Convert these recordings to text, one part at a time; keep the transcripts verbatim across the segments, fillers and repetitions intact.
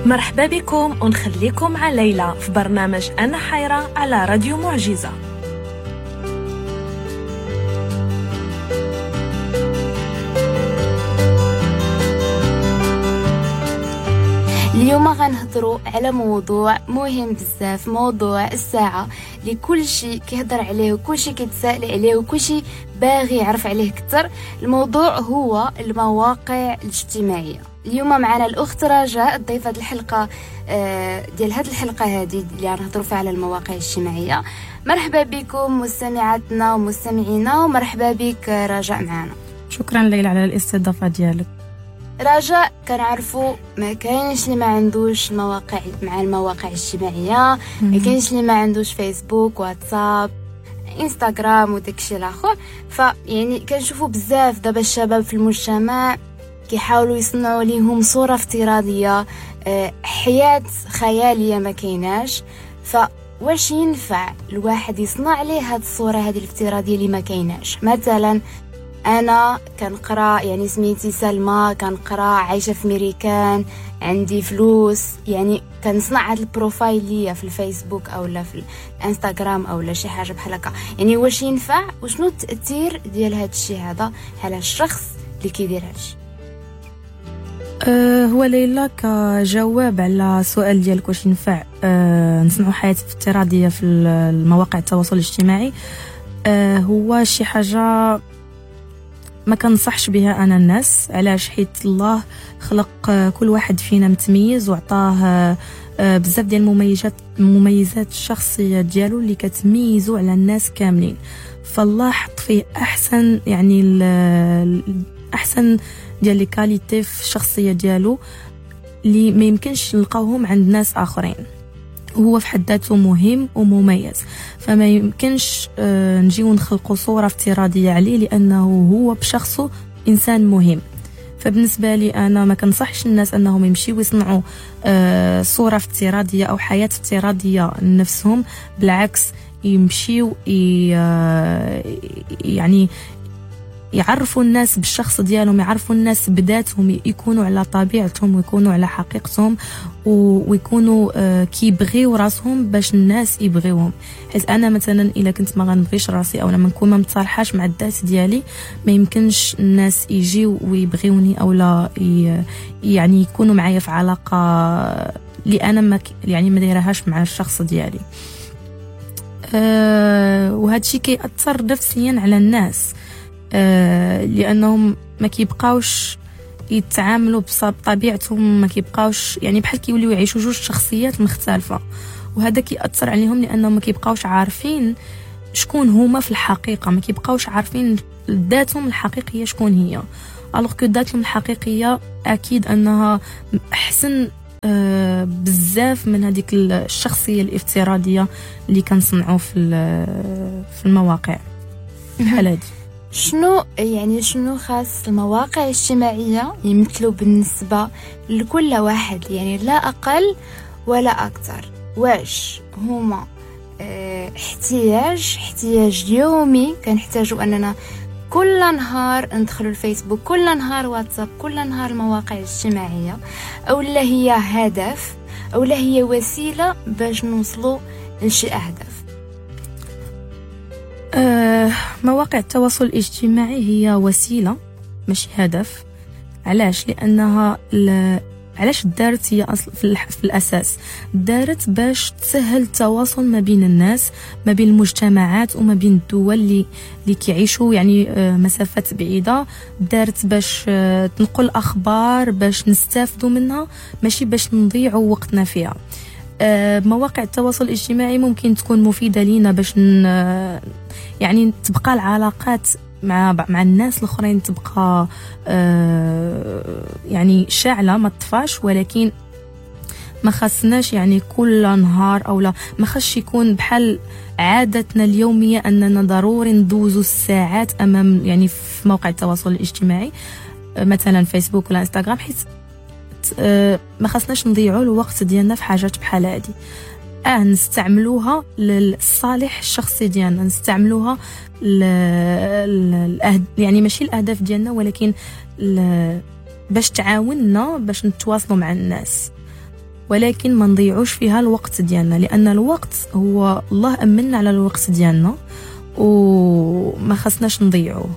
مرحبا بكم ونخليكم مع ليلى في برنامج أنا حيرة على راديو معجزة. اليوم غنهضروا على موضوع مهم بزاف، موضوع الساعة اللي كل شيء كيهضر عليه وكل شيء كيتسائل عليه وكل شيء باغي يعرف عليه اكثر. الموضوع هو المواقع الاجتماعية. اليوم معنا الأخت رجاء ضيفة الحلقة ديال هذه الحلقة هذه اللي غنهضروا فيها على المواقع الاجتماعية. مرحبا بكم مستمعاتنا ومستمعينا، ومرحبا بك رجاء معنا. شكرا ليلى على الاستضافة ديالك. رجاء، كنعرفوا ما كاينش اللي ما عندوش المواقع مع المواقع الاجتماعية، ما كاينش اللي ما عندوش فيسبوك، واتساب، انستغرام وداكشي الاخر. فيعني كنشوفوا بزاف دابا الشباب في المجتمع كيحاولوا يصنعوا ليهم صوره افتراضية، حياة خيالية ما كايناش. فواش ينفع الواحد يصنع ليه هاد الصورة هذه الافتراضية اللي ما كايناش؟ مثلا انا كنقرا، يعني سميتي سلمى، كنقرا، عايشه في ميريكان، عندي فلوس، يعني كنصنع هاد ال profile ليا في الفيسبوك او لا في الانستغرام او لا شي حاجة بحال هكا. يعني واش ينفع وشنو التاثير ديال هاد الشيء هذا على الشخص اللي كيدير هادشي؟ أه هو ليلى، كجواب على السؤال ديالك واش ينفع أه نصنعوا حياة افتراضية في المواقع التواصل الاجتماعي، أه هو شي حاجة ما كنصحش بها انا الناس. علاش؟ حيت الله خلق كل واحد فينا متميز وعطاه بزاف ديال المميزات المميزات الشخصية ديالو اللي كتميزو على الناس كاملين. فالله حط فيه احسن، يعني احسن ديال les qualités في الشخصية ديالو اللي ما يمكنش نلقاوهم عند ناس اخرين. هو في حد ذاته مهم ومميز، فما يمكنش نجيو نخلقوا صورة افتراضية عليه لأنه هو بشخصه إنسان مهم. فبالنسبة لي أنا ما كنصحش الناس أنهم يمشيو يصنعوا صورة افتراضية أو حياة افتراضية لنفسهم. بالعكس، يمشيو يعني يعرفوا الناس بالشخص ديالهم، يعرفوا الناس بذاتهم، يكونوا على طبيعتهم ويكونوا على حقيقتهم ويكونوا كيبغيو راسهم باش الناس يبغيوهم. حيت انا مثلا الا كنت ما غنبغيش راسي او ما نكون ما متصالحاش مع الذات ديالي، ما يمكنش الناس يجيو ويبغيوني او لا يعني يكونوا معايا في علاقة اللي انا ما يعني ما دايرهاش مع الشخص ديالي. أه وهذا الشيء كيأثر نفسيا على الناس، آه لانهم ما كيبقاوش يتعاملوا بطبيعتهم، ما كيبقاوش يعني بحال كيوليو يعيشوا جوج شخصيات مختلفة، وهذا كيأثر عليهم لانهم ما كيبقاوش عارفين شكون هما في الحقيقة، ما كيبقاوش عارفين ذاتهم الحقيقية شكون هي. alors que ذاتهم الحقيقية اكيد انها احسن آه بزاف من هذيك الشخصية الافتراضية اللي كنصنعوا في في المواقع بحال هادي. شنو يعني شنو خاص المواقع الاجتماعية يمثلوا بالنسبة لكل واحد، يعني لا أقل ولا أكثر؟ واش هما اه احتياج احتياج يومي كنحتاجوا أننا كل نهار ندخلوا الفيسبوك، كل نهار واتساب، كل نهار المواقع الاجتماعية، أو لا هي هدف، أو لا هي وسيلة باش نوصلوا لشي أهداف؟ أه مواقع التواصل الاجتماعي هي وسيلة ماشي هدف. علاش؟ لأنها ل... علاش دارت هي أصل في, الح... في الأساس دارت باش تسهل التواصل ما بين الناس، ما بين المجتمعات وما بين الدول اللي اللي كيعيشوا يعني مسافات بعيدة. دارت باش تنقل أخبار باش نستافدوا منها، ماشي باش نضيعوا وقتنا فيها. مواقع التواصل الاجتماعي ممكن تكون مفيدة لينا باش ن... يعني تبقى العلاقات مع مع الناس الاخرين تبقى يعني شاعله ما تطفاش، ولكن ما خصناش يعني كل نهار او لا ما خصش يكون بحال عادتنا اليومية اننا ضروري ندوزو الساعات امام يعني في موقع التواصل الاجتماعي مثلا فيسبوك ولا انستغرام، حيت ما خصناش نضيعوا الوقت ديالنا في حاجات بحال هادي. اه نستعملوها للصالح الشخصي ديالنا، نستعملوها للأهد... يعني ماشي الاهداف ديالنا، ولكن ل... باش تعاوننا باش نتواصلوا مع الناس. ولكن ما نضيعوش فيها الوقت ديالنا، لان الوقت هو الله امنا على الوقت ديالنا وما خصناش نضيعوه.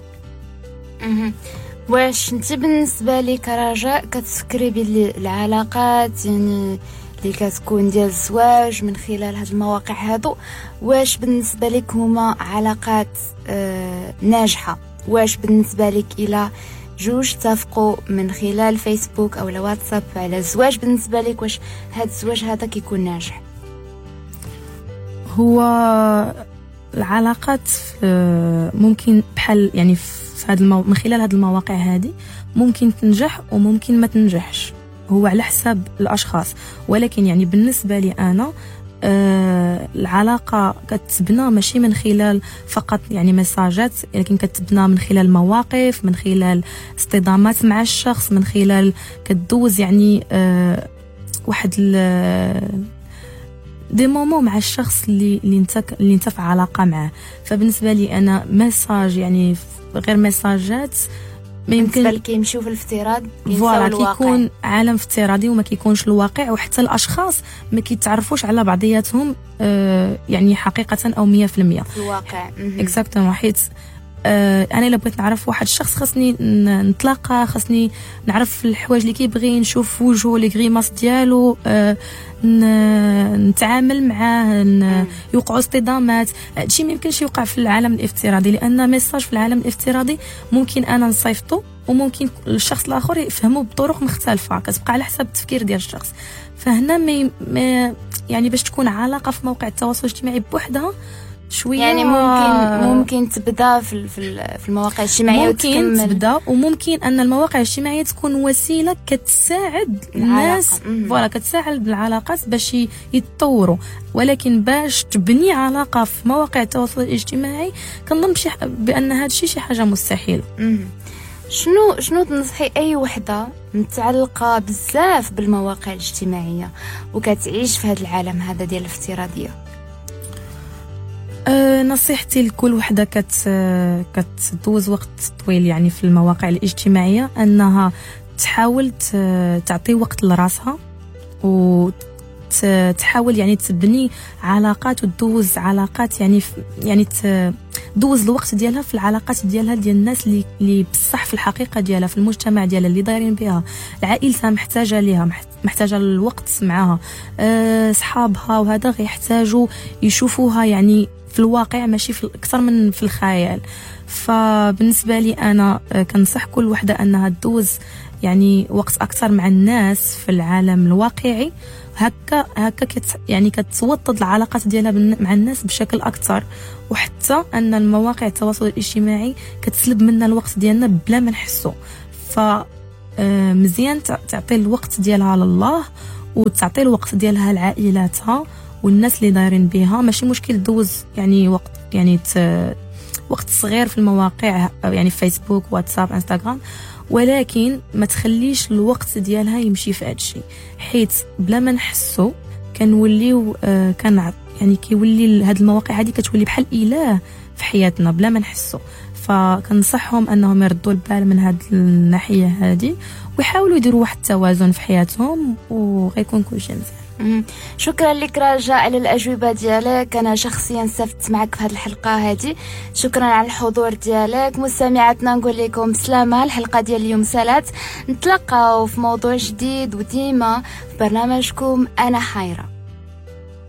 واش انت بالنسبة لك رجاء كتفكري باللي العلاقات يعني اللي كتكون ديال الزواج من خلال هاد المواقع هادو، واش بالنسبة لك هما علاقات آه ناجحة؟ واش بالنسبة لك الى جوج اتفقوا من خلال فيسبوك او الواتساب على الزواج، بالنسبة لك واش هاد الزواج هذا كيكون ناجح؟ هو العلاقات ممكن بحال يعني في هاد المو... من خلال هاد المواقع هذه ممكن تنجح وممكن ما تنجحش، هو على حساب الاشخاص. ولكن يعني بالنسبة لي انا آه العلاقة كتبنى ماشي من خلال فقط يعني مساجات، لكن كتبنى من خلال مواقف، من خلال اصطدامات مع الشخص، من خلال كدوز يعني آه واحد des moments مع الشخص اللي اللي انت اللي انت في علاقة معاه. فبالنسبه لي انا message يعني غير ميساجات ما يمكن كيمشيو في الافتراض، voilà كيكون عالم افتراضي وما كيكونش الواقع، وحتى الاشخاص ما كيتعرفوش على بعضياتهم آه يعني حقيقة او مية في المية في الواقع. exactement، حيت آه انا الا بغيت نعرف واحد الشخص خاصني نتلاقى، خاصني نعرف الحوايج اللي كيبغي، نشوف وجهه، les grimaces ديالو، آه نتعامل معاه، يوقعوا اصطدامات. هادشي ما يمكنش يوقع في العالم الافتراضي، لان message في العالم الافتراضي ممكن انا نصيفطو وممكن الشخص الاخر يفهمه بطرق مختلفة، كتبقى على حسب التفكير ديال الشخص. فهنا ما يعني باش تكون علاقة في موقع التواصل الاجتماعي بوحدها شوية، يعني ممكن ممكن تبدا في في المواقع الاجتماعية، ممكن تبدا، وممكن ان المواقع الاجتماعية تكون وسيلة كتساعد الناس، voilà كتساعد العلاقات باش يتطوروا. ولكن باش تبني علاقة في مواقع التواصل الاجتماعي كنظن بشي بان هذا الشيء شي حاجة مستحيلة. شنو شنو تنصحي اي وحده متعلقه بزاف بالمواقع الاجتماعية وكتعيش في هذا العالم هذا ديال الافتراضية؟ أه نصيحتي لكل وحده كت كتدوز وقت طويل يعني في المواقع الاجتماعية انها تحاول تعطي وقت لراسها، وتحاول يعني تبني علاقات وتدوز علاقات، يعني يعني تدوز الوقت ديالها في العلاقات ديالها ديال الناس اللي اللي بصح في الحقيقة ديالها، في المجتمع ديالها اللي دايرين بها، عائلتها محتاجه ليها، محتاجه الوقت معاها، أه صحابها، وهذا غيحتاجوا يشوفوها يعني في الواقع ماشي في اكثر من في الخيال. فبالنسبه لي انا كنصح كل وحده انها تدوز يعني وقت اكثر مع الناس في العالم الواقعي، هكا هكا كت يعني كتوطد العلاقات ديالها مع الناس بشكل اكثر. وحتى ان المواقع التواصل الاجتماعي كتسلب منا الوقت ديالنا بلا ما نحسو، ف مزيان تعطي الوقت ديالها لله وتعطي الوقت ديالها لعائلاتها والناس اللي دايرين بها. ماشي مشكل دوز يعني وقت يعني ت... وقت صغير في المواقع يعني فيسبوك، واتساب، انستغرام، ولكن ما تخليش الوقت ديالها يمشي في هادشي، حيت بلا ما نحسو كنوليو آه كان يعني كيولي هاد المواقع هادي كتولي بحال اله في حياتنا بلا ما نحسو. فكنصحهم انهم يردوا البال من هاد الناحية هادي ويحاولوا يديروا واحد التوازن في حياتهم وغيكون كلشي مزيان. شكرا لك رجاء على الأجوبة ديالك، أنا شخصيا استفدت معك في هذه الحلقة هذه. شكرا على الحضور ديالك. مستمعاتنا نقول لكم سلامة، الحلقة ديال اليوم سالات، نتلقاو في موضوع جديد وديما في برنامجكم أنا حيرة.